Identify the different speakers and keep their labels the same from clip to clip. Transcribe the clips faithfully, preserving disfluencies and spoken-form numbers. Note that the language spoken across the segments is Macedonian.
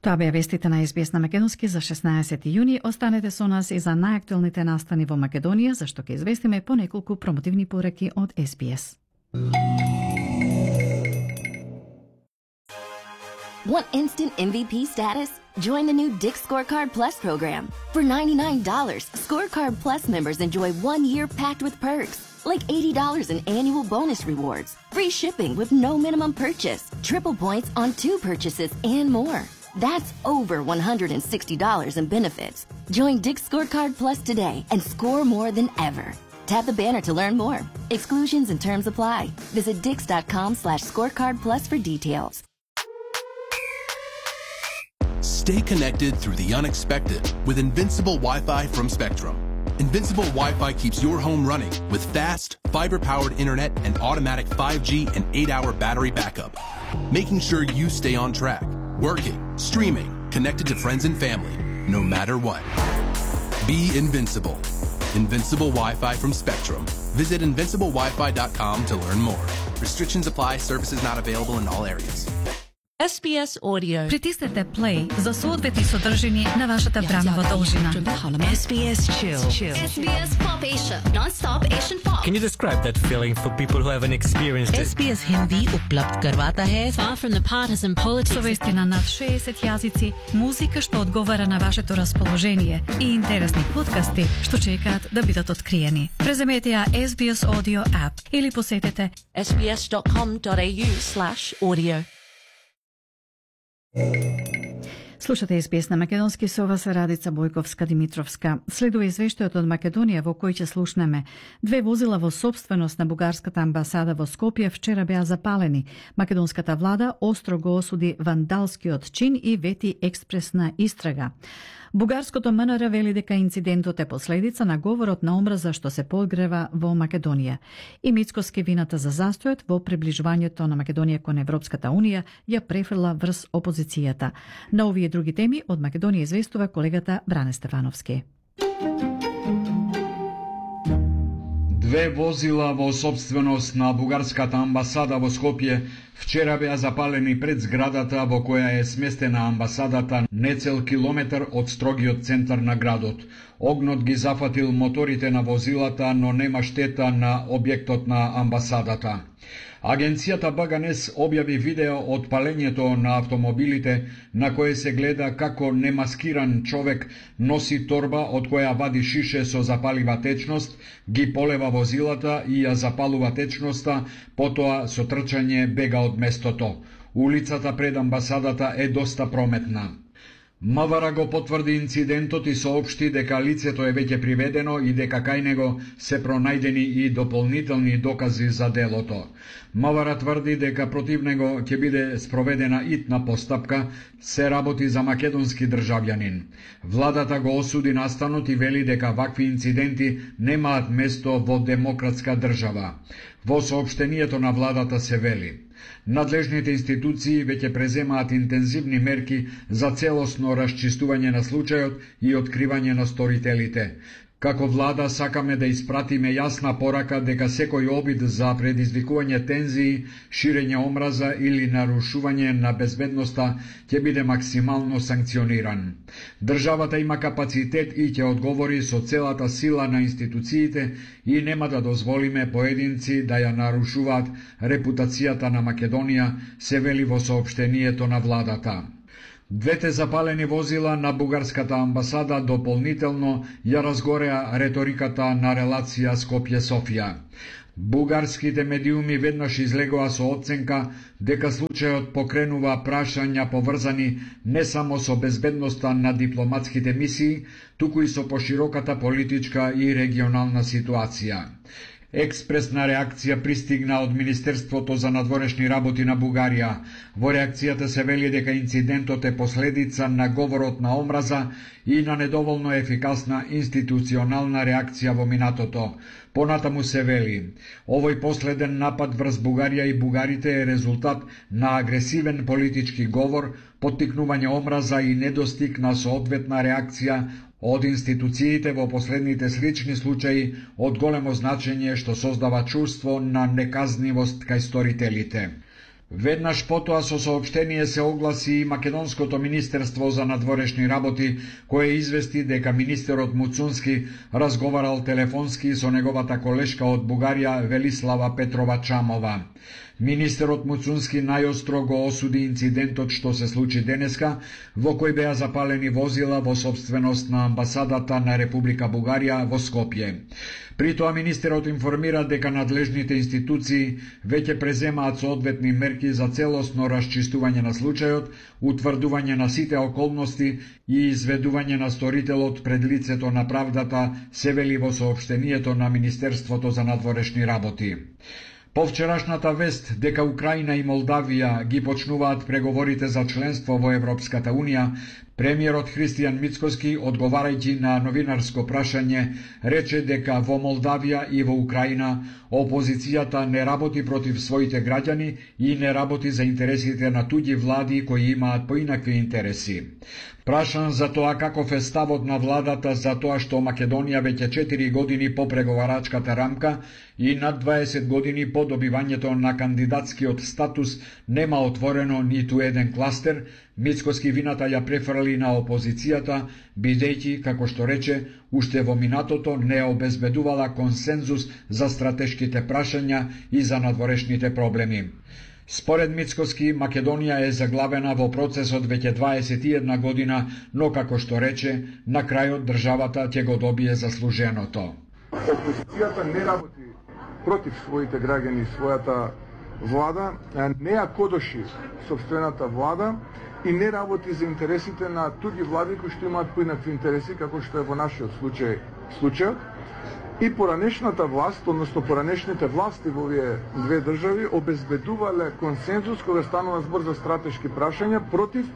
Speaker 1: Тоа беа вестите на Ес Би Ес на македонски за шеснаесети јуни. Останете со нас и за најактуелните настани во Македонија, зашто ќе известиме по неколку промотивни пораки од Ес Би Ес.
Speaker 2: Want instant M V P status? Join the new Dick's Scorecard Plus program. For ninety-nine dollars, Scorecard Plus members enjoy one year packed with perks, like eighty dollars in annual bonus rewards, free shipping with no minimum purchase, triple points on two purchases, and more. That's over one hundred sixty dollars in benefits. Join Dick's Scorecard Plus today and score more than ever. Tap the banner to learn more. Exclusions and terms apply. Visit dix.com slash scorecard plus for details.
Speaker 3: Stay connected through the unexpected with Invincible Wi-Fi from Spectrum. Invincible Wi-Fi keeps your home running with fast, fiber-powered internet and automatic five G and eight hour battery backup, making sure you stay on track, working, streaming, connected to friends and family, no matter what. Be invincible. Invincible Wi-Fi from Spectrum. Visit invincible wifi dot com to learn more. Restrictions apply. Services not available in all areas.
Speaker 4: Ес Би Ес Audio.
Speaker 1: Притиснете play за соодветни содржини на вашата бранова должина.
Speaker 4: Ес Би Ес Chill.
Speaker 5: Ес Би Ес Pop Asia, non-stop Asian pop.
Speaker 6: Can you describe that feeling for people who haven't experienced it?
Speaker 4: Ес Би Ес Hindi उपलब्ध करवाता है far from the partisan politics.
Speaker 1: Со вести на над шеесет јазици, музика што одговара на вашето расположение и интересни подкасти што чекаат да бидат откриени. Преземете ја Ес Би Ес Audio app или посетете
Speaker 4: ес би ес dot com dot a u slash audio.
Speaker 1: Слушате Ес Би Ес на македонски, со вас Радица Бојковска-Димитровска. Следува извештајот од Македонија во кој ќе слушнеме. Две возила во собственост на бугарската амбасада во Скопје вчера беа запалени. Македонската влада остро го осуди вандалскиот чин и вети експресна истрага. Бугарското М Н Р вели дека инцидентот е последица на говорот на омраза што се подгрева во Македонија. И Мицкоски вината за застојот во приближувањето на Македонија кон Европската Унија ја префрла врз опозицијата. На овие и други теми од Македонија известува колегата Бране Стефановски.
Speaker 7: Две возила во собственост на бугарската амбасада во Скопје вчера беа запалени пред зградата во која е сместена амбасадата нецел километар од строгиот центар на градот. Огнот ги зафатил моторите на возилата, но нема штета на објектот на амбасадата. Агенцијата Б Г Н С објави видео од палењето на автомобилите на кое се гледа како немаскиран човек носи торба од која вади шише со запалива течност, ги полева возилата и ја запалува течноста, потоа со трчање бега од местото. Улицата пред амбасадата е доста прометна. МВР го потврди инцидентот и соопшти дека лицето е веќе приведено и дека кај него се пронајдени и дополнителни докази за делото. МВР тврди дека против него ќе биде спроведена итна постапка, се работи за македонски државјанин. Владата го осуди настанот и вели дека вакви инциденти немаат место во демократска држава. Во соопштението на владата се вели: надлежните институции веќе преземаат интензивни мерки за целосно расчистување на случајот и откривање на сторителите. Како влада сакаме да испратиме јасна порака дека секој обид за предизвикување тензии, ширење омраза или нарушување на безбедноста ќе биде максимално санкциониран. Државата има капацитет и ќе одговори со целата сила на институциите и нема да дозволиме поединци да ја нарушуваат репутацијата на Македонија, се вели во соопштението на владата. Двете запалени возила на бугарската амбасада дополнително ја разгореа реториката на релација Скопје-Софија. Бугарските медиуми веднаш излегоа со оценка дека случајот покренува прашања поврзани не само со безбедноста на дипломатските мисии, туку и со пошироката политичка и регионална ситуација. Експресна реакција пристигна од Министерството за надворешни работи на Бугарија. Во реакцијата се вели дека инцидентот е последица на говорот на омраза и на недоволно ефикасна институционална реакција во минатото. Понатаму се вели: овој последен напад врз Бугарија и бугарите е резултат на агресивен политички говор, поттикнување омраза и недостиг на соодветна реакција од институциите во последните слични случаи од големо значење што создава чувство на неказнивост кај сторителите. Веднаш потоа со соопштение се огласи и Македонското министерство за надворешни работи, кое извести дека министерот Муцунски разговарал телефонски со неговата колешка од Бугарија Велислава Петрова Чамова. Министерот Муцунски најостро го осуди инцидентот што се случи денеска, во кој беа запалени возила во собственост на амбасадата на Република Бугарија во Скопје. При тоа министерот информира дека надлежните институции веќе преземаат соодветни мерки за целосно расчистување на случајот, утврдување на сите околности и изведување на сторителот пред лицето на правдата, се вели во соопштението на Министерството за надворешни работи. По вчерашната вест дека Украина и Молдавија ги почнуваат преговорите за членство во Европската Унија, премиерот Христијан Мицкоски, одговарајќи на новинарско прашање, рече дека во Молдавија и во Украина опозицијата не работи против своите граѓани и не работи за интересите на туѓи влади кои имаат поинакви интереси. Прашан за тоа каков е ставот на владата за тоа што Македонија веќе четири години по преговарачката рамка и над дваесет години по добивањето на кандидатскиот статус нема отворено ниту еден кластер, Мицкоски вината ја префрли на опозицијата, бидејќи, како што рече, уште во минатото не обезбедувала консензус за стратешките прашања и за надворешните проблеми. Според Мицкоски, Македонија е заглавена во процесот веќе дваесет и една година, но како што рече, на крајот државата ќе го добие заслуженото.
Speaker 8: Опозицијата не работи против своите граѓани и својата влада, не ја кодоши собствената влада и не работи за интересите на туѓи влади кои што имаат поинакви интереси, како што е во нашиот случај случајот. И поранешната власт, односно поранешните власти во овие две држави обезбедувале консензус кога станува збор за стратешки прашања против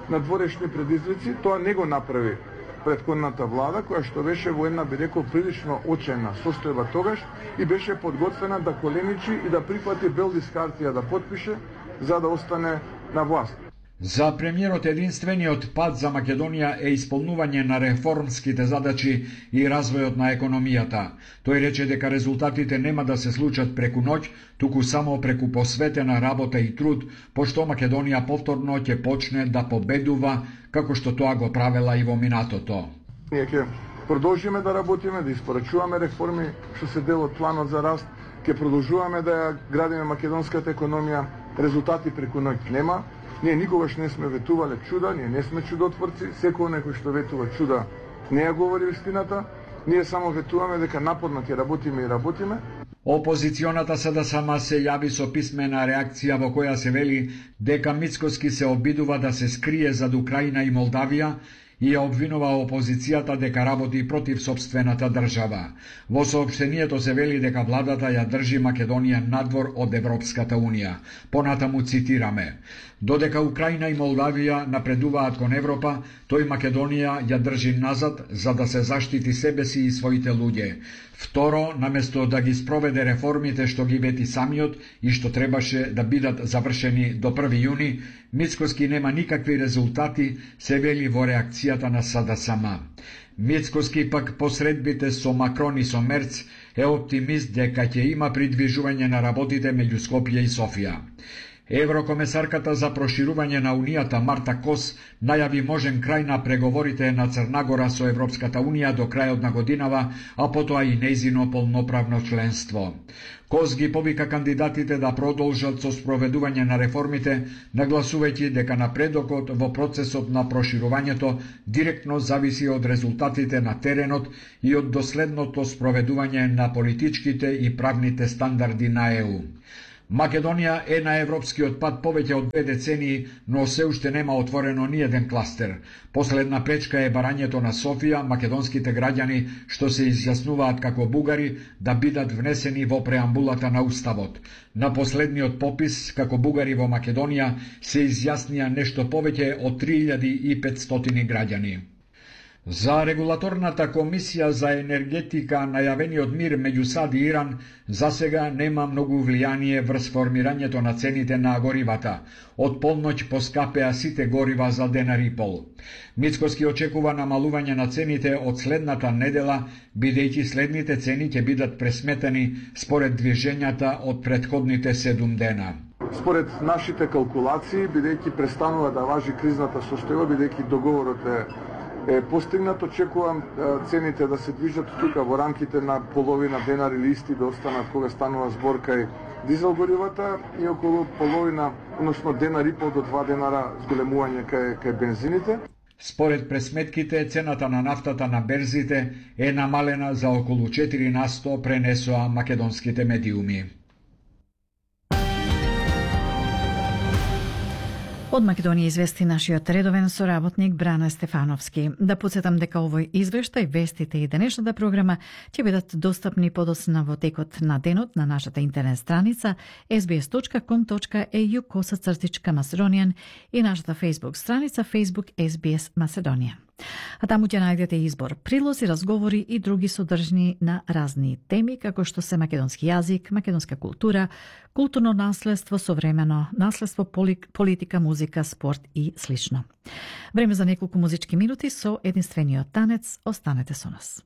Speaker 8: надворешни предизвици. Тоа не го направи претходната влада, која што беше во една, би рекол, прилично очена состојба тогаш и беше подготвена да коленичи и да прифати бел лист хартија да потпише за да остане на власт.
Speaker 7: За премиерот единствениот пат за Македонија е исполнување на реформските задачи и развојот на економијата. Тој рече дека резултатите нема да се случат преку ноќ, туку само преку посветена работа и труд, пошто Македонија повторно ќе почне да победува, како што тоа го правела и во минатото.
Speaker 8: Ние ќе продолжиме да работиме, да испорачуваме реформи што се дел од планот за раст, ќе продолжуваме да ја градиме македонската економија, резултати преку ноќ нема. Ние никогаш не сме ветувале чуда, ние не сме чудотворци, секој некој што ветува чуда не ја говори вистината, ние само ветуваме дека напорно ќе работиме и работиме.
Speaker 7: Опозиционата СДСМ се јави со писмена реакција во која се вели дека Мицкоски се обидува да се скрие зад Украина и Молдавија и ја обвинува опозицијата дека работи против собствената држава. Во соопштението се вели дека владата ја држи Македонија надвор од Европската Унија. Понатаму цитираме: додека Украина и Молдавија напредуваат кон Европа, тој Македонија ја држи назад за да се заштити себе си и своите луѓе. Второ, наместо да ги спроведе реформите што ги вети самиот и што требаше да бидат завршени до први јуни, Мицкоски нема никакви резултати, се вели во реакцијата на СДСМ. Мицкоски пак посредбите со Макрон и со Мерц е оптимист дека ќе има придвижување на работите меѓу Скопје и Софија. Еврокомесарката за проширување на Унијата Марта Кос најави можен крај на преговорите на Црна Гора со Европската Унија до крајот на годинава, а потоа и нејзино полноправно членство. Кос ги повика кандидатите да продолжат со спроведување на реформите, нагласувајќи дека напредокот во процесот на проширувањето директно зависи од резултатите на теренот и од доследното спроведување на политичките и правните стандарди на Е У. Македонија е на европскиот пат повеќе од две децении, но се уште нема отворено ни еден кластер. Последна пречка е барањето на Софија, македонските граѓани што се изјаснуваат како бугари да бидат внесени во преамбулата на Уставот. На последниот попис, како бугари во Македонија, се изјаснија нешто повеќе од три илјади и петстотини граѓани. За регулаторната комисија за енергетика најавениот мир меѓу САД и Иран засега нема многу влијание врз формирањето на цените на горивата. Од полноќ поскапеа сите горива за денар и пол. Мицкоски очекува намалување на цените од следната недела, бидејќи следните цени ќе бидат пресметени според движењата од претходните седум дена.
Speaker 8: Според нашите калкулации, бидејќи престанува да важи кризната состојба, бидејќи договорот е е постигнат, очекувам цените да се движат тука во рамките на половина денар или исти да останат кога станува збор кај дизел горивата и околу половина, односно денар и пол до два денара зголемување кај кај бензините.
Speaker 7: Според пресметките, цената на нафтата на берзите е намалена за околу четири на сто, пренесоа македонските медиуми.
Speaker 1: Од Македонија извести нашиот редовен соработник Брана Стефановски. Да подсетам дека овој извештај, вестите и денешната програма ќе бидат достапни подоцна во текот на денот на нашата интернет страница ес би ес точка ком точка е ю косацртичка Macedonian и нашата Facebook страница Facebook ес би ес Macedonија. А таму ќе најдете избор прилози, разговори и други содржини на разни теми, како што се македонски јазик, македонска култура, културно наследство, современо наследство, политика, музика, спорт и слично. Време за неколку музички минути со единствениот танец. Останете со нас.